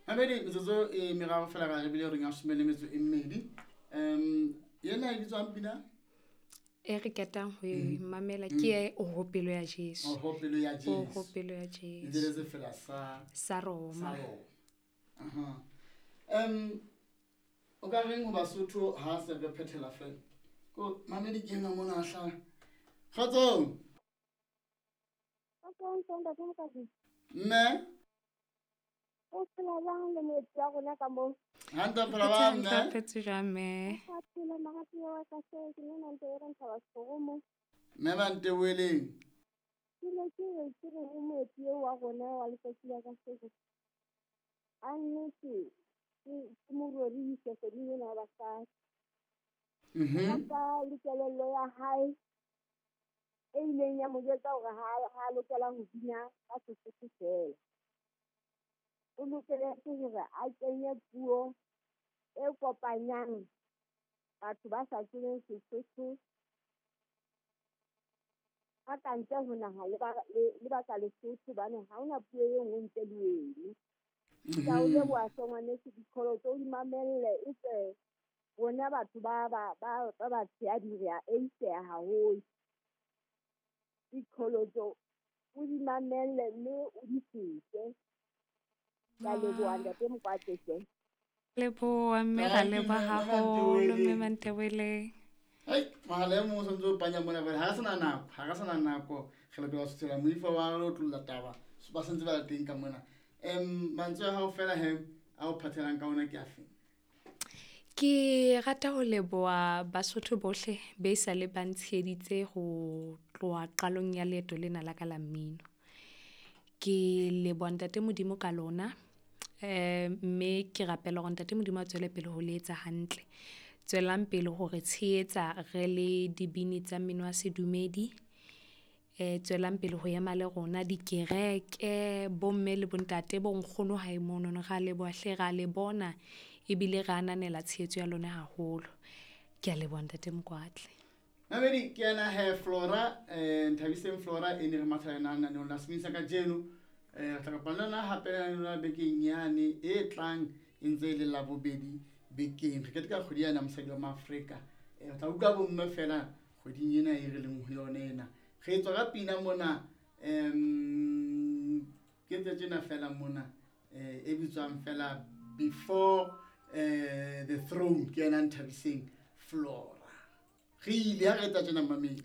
Mamedi, metsotso e meraro fela ra re bile reng ya some le metso e mmedi. Yena e bitswang pina? E re ketang ho e mamela ke e Oho Pelo ya Jesu. Oho Pelo ya Jesu. Oho Pelo ya Jesu. Ntse le sefela sa sa Roma. Sa Roma. Aha. O ka reng ho Basotho ha se re phethela fela? Ko mamedi ke ena mona hla. Kgotsong. Kgotsong, ntate Mokadi. Mme. O phela jwang le moetsi wa rona ka moo? Hantle phela ba mme. Hantle phetse jwang mme? Ka phela moratuwa wa ka hle, ke nna ntse e re nthaba sekgoro mo. Mme ba nteboheleng. Ke ne ke re ke re ho moetsi eo wa rona wa letsatsi la kasheko. A nnete ke mo rorise kgweding ena ya basadi. Ka le kelello ya hae e ileng ya mo jwetsa hore ha lokela ho bina ka Sesotho feela. O lokeletse hore a kenye puo e kopanyang batho ba sa tsebeng Sesotho ba ka ntle ho naha le ba ka Lesotho, hobane ha hona puo e nngwe ntle le eno. Ke a o leboha hle ngwaneso, diqholotso o di mamelle, e tswe rona batho ba batshehadi re a eiseha haholo. Diqholotso o di mamelle mme o di fete. Ke a leboha ntate Mokwatle hle. Leboha mme, ra leboha haholo mme Mantebeleng. Ai, mohala e mong o santse o panya mona, ha re sena nako, ha re sena nako, re lokela ho suthela moifo wa re tlolla taba, ba santse ba le teng ka mona. Mantswe a hao fela he, a o phathelang ka ona ke afe? Ke rata ho leboha Basotho bohle be sa le ba ntsheheditse ho tloha qalong ya leeto lena la ka la mmino. Ke leboha Ntate Modimo ka lona, mme ke rapela hore Ntate Modimo a tswele pele ho le etsa hantle. Tswelang pele hore tshehetsa re le dibini tsa mmino wa sedumedi. Tswelang pele ho ema le rona dikereke, bomme le bontate, bonkgono hae monono, ra leboha hle, ra le bona ebile re ananela tshehetso ya lona haholo. Ke a leboha Ntate Mokwatle. Mamedi, ke ena he Flora, Nthabiseng Flora e ne re mathela yona lenaneong la Semini sa kajeno. Re tla kopana le yona hape lenaneong la bekeng yane e tlang e ntse e le Labobedi bekeng. Re keteka kgwedi yana mosadi wa Maafrika. Re tla utlwa bomme fela kgweding ena e re leng ho yona ena. Re tswa ka pina mona, ke tse tjena fela mona, e bitswang fela Before the Throne, ke yena Nthabiseng Flora. Re ile ha re etsa tjena mamedi.